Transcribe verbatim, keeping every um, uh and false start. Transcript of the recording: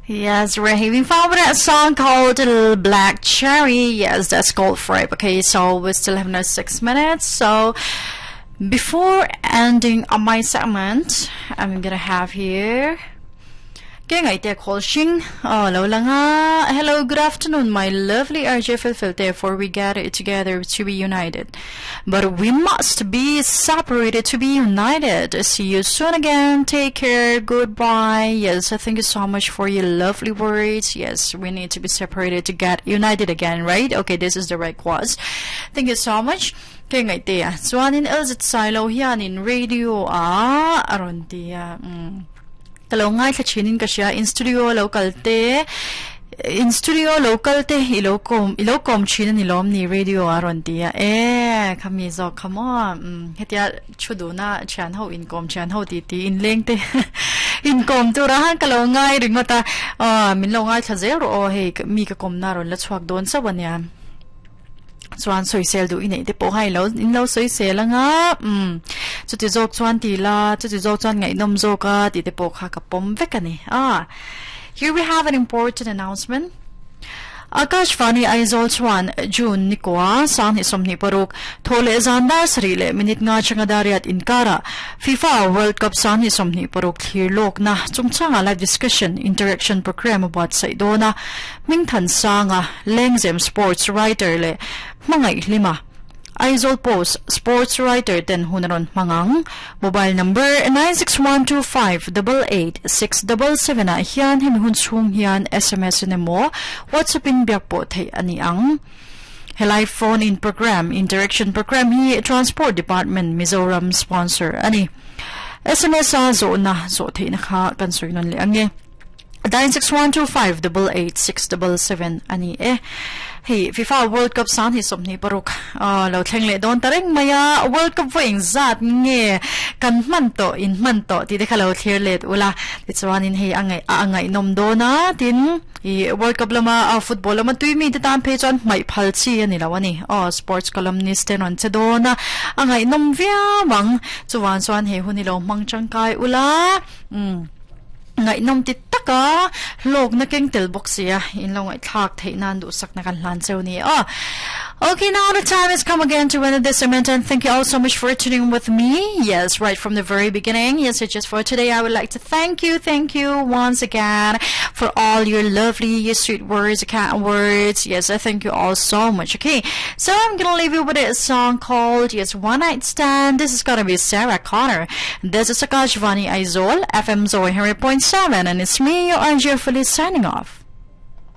Yes, we're having fun with that song called Black Cherry. Yes, that's called Fribe. Okay, so we still have another six minutes. So before ending on my segment, I'm gonna have here Ke ngai te call shing oh lo langa hello good afternoon my lovely RJ Filfilte for we gather together to be united but we must be separated to be united see you soon again take care goodbye yes thank you so much for your lovely words yes we need to be separated to get united again right okay this is the right cause thank you so much ke ngai te a chuanin LZ Silo hianin radio a aron tia mm lo ngai thla thinin ka hria in studio local te in studio local te i lo kom i lo kom thin ani lom ni radio a ron tia e khami zo come on um hetia chudu na chan ho in kom chan ho ti ti in leng te in kom tu ra han ka lo ngai ringota a min lo ngai thla zel ro o hei mi ka kom na ron la chuak don sawania chuan soisel du inei te pawh hai lo in lo soisel anga um chuti zawk chuan ti la chuti zawk chuan ngaihnawm zawk a ti te pawh kha ka pawm vek ani a here we have an important announcement Akashvani Aizawl chuan June nikwa sang hi somni paruk thole zandar sari le minute nga changa dariat inkara FIFA World Cup sang hi somni paruk thlir lok na chungchanga live discussion interaction program about saidona mingthan sanga lengzem sports writer le mangai lima Aizawl Post sports writer ten hunaron mangang mobile number nine six one two five double eight six double seven a hian hemi hun chung hian SMS in emaw WhatsApp in biak pawh thei ani ang helai phone in program interaction program hi Transport Department Mizoram sponsor ani SMS a zo na zo thei na kha kan soinon le ange nine six one two five double eight six double seven ani e hey FIFA World Cup san hi somni paruk a lo thleng le don tareng maya World Cup voing zat nge kan man to in man to ti de khalo thlir let ula ti chuan in hei angai a angai nom do na tin i World Cup lama a football lama tui mi te tan phe chuan mai phal chi ani lo ani o sports columnist ten on che do na angai nom via wang chuan chuan he huni lo mang changkai ula um ngai nom ti taka lok na keng tel box ya in lo ngai thak thei nan du sak na kan hlan cheu ni a okay now the time has come again to end this segment and thank you all so much for tuning with me yes right from the very beginning yes it's just for today I would like to thank you thank you once again for all your lovely your sweet words kind words yes I thank you all so much okay so I'm gonna leave you with a song called yes One Night Stand this is gonna be Sarah Connor this is Akashvani Aizawl FM Zoe Henry point seven and it's me your Angie Felice signing off